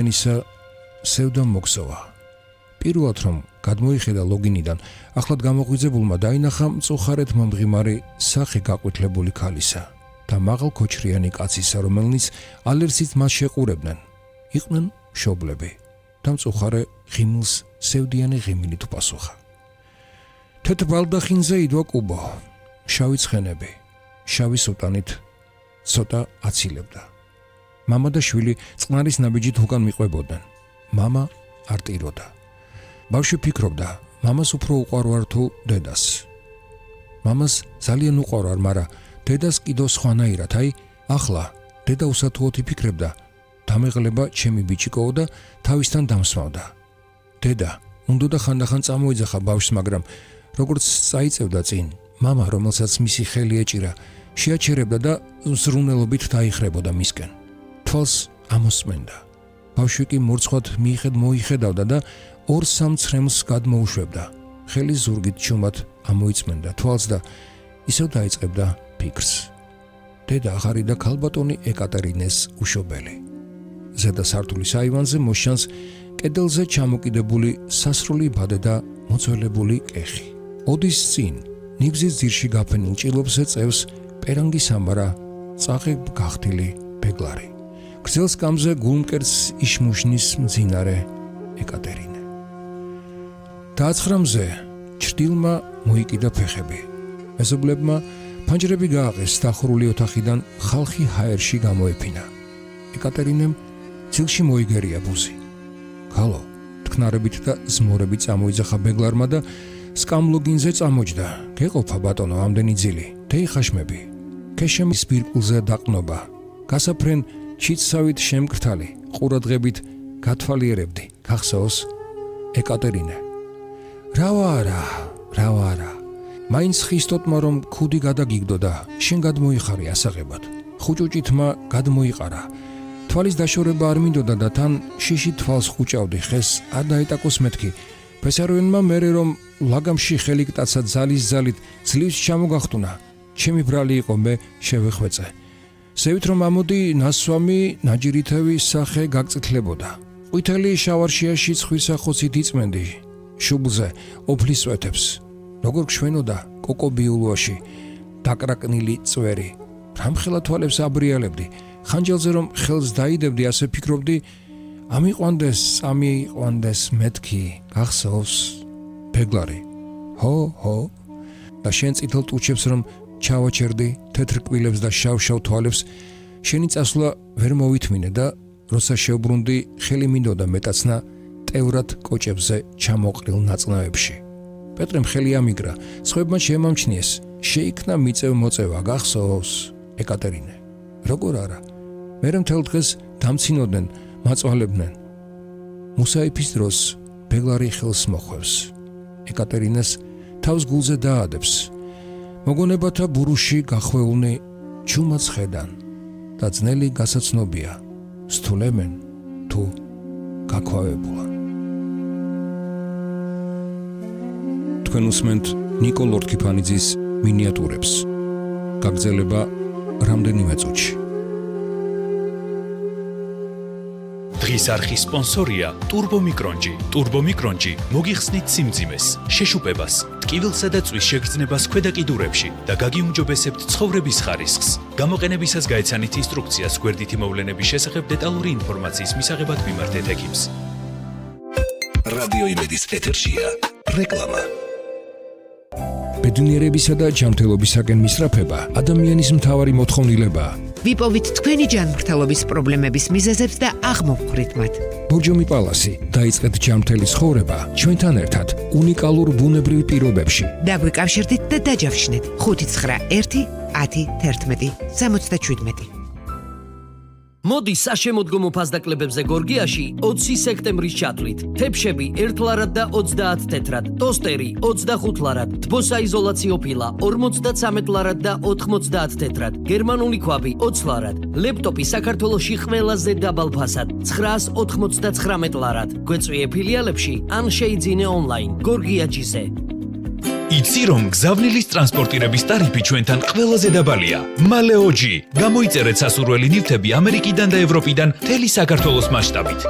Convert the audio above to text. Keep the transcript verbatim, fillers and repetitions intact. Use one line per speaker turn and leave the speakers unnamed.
ენისა სევდა მოგსოვა. პირველად რომ გადმოიხედა ლოგინიდან, ახლად გამოღვიძებულმა დაინახა მწუხარეთ მომღიმარი სახე გაყვითლებული ქალისა და მაღალ ქოჩრიანი კაცისა, რომელნიც ალერსით მას შეყურებდნენ. იყვნენ მშობლები და მწუხარე ღიმილს სევდიანი ღიმილით უპასუხა. თეთრ ბალდახინზე იდვა კუბო, შავი ცხენები, შავი სუტანით ცოტა აცილებდა. მამა და შვილი წყნარის ნაბიჯით უკან მიყვებოდნენ. მამა არ ტიროდა. ბავშვი ფიქრობდა, მამას უფრო უყვარვარ თუ დედას. მამას ძალიან უყვარვარ, მაგრამ დედას კიდო სხვანაირად, აი, ახლა დედა უსათუოდ იფიქრებდა, დამეღლება ჩემი ბიჭიკოო და თავისთან დამსმავდა. დედა უნდოდა ხანდახან წამოიძახა ბავშვს, მაგრამ როგორც წაიწევდა წინ, მამა, რომელსაც მისი ხელი ეჭირა, შეაჩერებდა და ზრუნელობით დაიხრებოდა მისკენ. თვალს ამოსწმენდა. ბავშვი კი მორცხვად მიიხედ მოიხედავდა და ორ სამ ცრემლს გადმოუშვებდა. ხელი ზურგით ჩუმად ამოიწმენდა თვალს და ისევ დაიწყებდა ფიქრს. დედა აღარიდა ქალბატონი ეკატერინეს უშობელი. ზედა სართულის აივანზე მოსჩანს კედელზე ჩამოკიდებული სასრული ბადე და მოძველებული კეხი. ოდის წინ ნიგზის ძირში გაფენილ ჭილობზე წევს პერანგის ამბარა წაღებ გახდილი ბეგლარი. გრძელ სკამზე გულმკერდს იშმუშნის მძინარე ეკატერინე. დააცხრამზე ჩრდილმა მოიკიდა ფეხები. მეზობლებმა ფანჯრები გააღეს დახურული ოთახიდან ხალხი ჰაერში გამოეფინა. ეკატერინემ ძილში მოიგერია ბუზი. ქალო, თქნარებით და ზმორებით წამოიძახა ბეგლარმა და სკამლოგინზე წამოჯდა. გეყოფა ბატონო ამდენი ძილი, თეიხაშმები. ქეშემის ბირკულზე დაყნობა. გასაფრენ ჩიცსავით შემკრთალი, ყურადღებით გათვალიერებდი. გახსოვს ეკატერინე. რავარა, რავარა. მაინც ხისტოტმა რომ ქუდი გადაგიგდოდა, შენ გადმოიხარი ასაღებად. ხუჭუჭითმა გადმოიყარა. თვალის დაშორება არ მინდოდა და თან შიში თვალს ხუჭავდი, ხეს არ დაეტაკოს მეთქი. ფესარვენმა მერე რომ ლაგამში ხელიკტაცა ძალის ძალით ძლივს ჩამოგახტუნა. ჩემი ბრალი იყო, მე შევეხვეწე. ზევით რომ ამოდი ნასვამი ნაჯირითევი სახე გაგწითლებოდა. ყვითელი შავარშიაში ცხვირსახოცით იწმენდი. შუბლზე ოფლის წვეთებს. როგორ გშვენოდა კოკობიულვაში დაკრაკნილი წვერი. რამხელა თვალებს აბრიალებდი. ხანჯალზე რომ ხელს დაიდებდი, ასე ფიქრობდი, ამიყვანდეს, ამიყვანდეს მეთქი. გახსოვს ბეგლარი. ჰო, ჰო. და შენ წითელ ტუჩებს რომ ჩავაჩერდი თეთრ კბილებს და შავ-შავ თვალებს, შენი წასვლა ვერ მოვითმინე და როცა შევბრუნდი, ხელი მინდოდა მეტაცნა ტევრად კოჭებზე ჩამოყრილ ნაწნავებში. პეტრემ ხელი ამიგრა, სხვებმა შეემამჩნიეს, შეიქმნა მიწევ მოწევა. გახსოვს ეკატერინე. როგორ არა, მერე მთელ დღეს დამცინოდნენ, მაწვალებდნენ. მუსაიფის დროს ბეგლარი ხელს მოხვევს. ეკატერინეს თავს გულზე დაადებს. მოგონებათა ბურუში გახვეულნი ჩუმად ხედან და ძნელი გასაცნობია, სტულემენ თუ გაქვავებულან. თქვენ უსმენთ ნიკო ლორთქიფანიძის მინიატურებს. გაგრძელება რამდენიმე წუთში.
დღის არხის სპონსორია ტურბომიკრონჯი. ტურბომიკრონჯი მოგიხსნით სიმძიმეს, შეშუპებას, ტკივილსა და წვის შეგრძნებას ქვედა კიდურებში და გაგიუმჯობესებთ ცხოვრების ხარისხს. გამოყენებისას გაეცანით ინსტრუქციას გვერდითი მოვლენების შესახებ დეტალური ინფორმაციის მისაღებად მიმართეთ ექიმს.
რადიო იმედის ეთერშია რეკლამა.
ბედნიერებისა და ჯანმრთელობისაკენ მისწრაფება ადამიანის მთავარი მოთხოვნილებაა.
ვიპოვით თქვენი ჯანმრთელობის პრობლემების მიზეზებს და აღმოვხვრით მათ.
ბორჯომი პალასი, დაიწყეთ ჯანმრთელი ცხოვრება ჩვენთან ერთად უნიკალურ ბუნებრივ პირობებში.
დაგვიკავშირდით და დაჯავშნეთ ხუთი ცხრა ერთი ათი თერთმეტი სამოცდაშვიდმეტი.
მოდი საშემოდგომო ფასდაკლებებზე გორგიაში ოცი სექტემბრის ჩათვლით. თეფშები ერთ ლარად და ოცდაათ თეთრად, ტოსტერი ოცდახუთ ლარად, თბოსაიზოლაციო ფილა ორმოცდაცამეტ ლარად და ოთხმოცდაათ თეთრად, გერმანული ქვაბი ოცი ლარად, ლეპტოპი საქართველოში ყველაზე დაბალ ფასად ცხრაას ოთხმოცდაცხრამეტ ლარად. გვეწვიე ფილიალებში ან შეიძინე ონლაინ გორგიაჯიზე.
იცი რომ გზავნილის ტრანსპორტირების ტარიფი ჩვენთან ყველაზე დაბალია. მალეოჯი. გამოიწერეთ სასურველი ნივთები ამერიკიდან და ევროპიდან მთელი საქართველოს მასშტაბით.